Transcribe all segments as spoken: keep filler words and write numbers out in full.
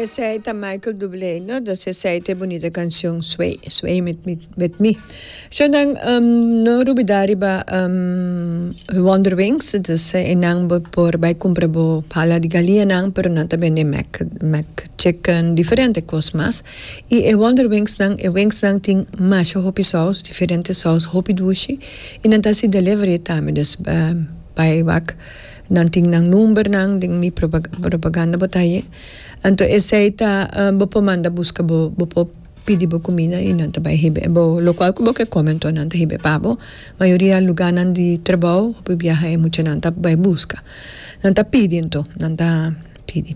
Esey ta Michael Bublé, no? Dus esey ta bunita cancion Sway, Sway with me, with me. So dan um, no lubida riba um, Wonder Wings, dus einan bo por bay cumpra bo hala di galiña nan, pero nan tambe Mac, Mac Chicken, diferente cos mas. Y e Wonder Wings nan, e wings nan tin masha hopi saus, diferente saus, hopi dushi. Y nan ta haci delivery tambe, dus um, bay wak nan tin nan number nan den mi propaganda bo ta haye. Anto esey ta um, bo por manda busca, bo bo por pidi bo cuminda y nan ta bay hibe bo locual cu bo ke come, anto nan ta hibe pa bo. Mayoria lugar nan di trabou, hopi biaha e mucha nan ta bay busca. Nan ta pidi anto, nan ta pidi.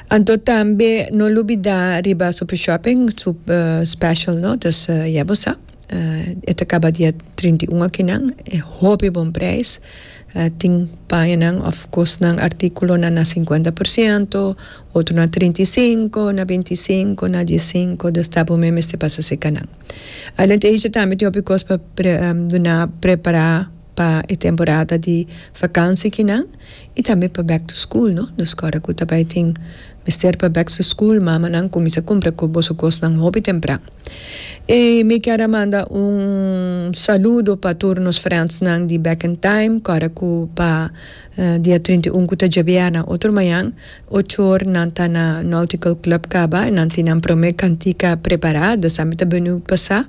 Anto tambe no lubida riba Super Shopping, super special, no? Dus uh, ya bo sa. Uh, e ta caba dia trinta i un aki nan, e hopi bon prijs. Uh, tin paña of cosnan, articulo na na cincuenta por ciento, otro na trinta i cinco, na binti i cinco, na diescinco, dus ta bo mes pasa serca nan. Além disso, tambe tin hopi cos pa pre, um, duna prepara pa e temporada di vakantie aki nan y tambe pa back to school, no? Dus awor cu tambe tin mester pa back to school, mama nan cuminsa cumpra cu boso cosnan hopi tempran. Y mi kier manda un saludo pa tur nos friends nan di Back in Time, awor cu pa uh, dia trinta i un, cu ta diabierna otro mañan, ocho or nan ta na Nautical Club caba, nan tin nan prome cantica prepara, dus ami ta benieuwd pasa.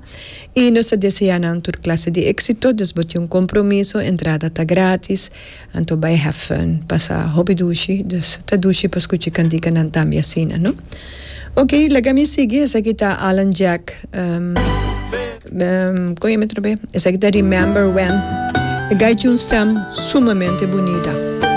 Y nos ta desea nan tur clase di exito, dus bo tin un compromiso, entrada ta gratis, anto bay have fun, pasa hopi dushi, dus ta dushi pa scucha cantica nan tambe asina, no? Ok, laga mi sigui, esaki ta Alan Jack, um, um, con e trobe? Esaki ta Remember When. E guy tin un stem sumamente bunita.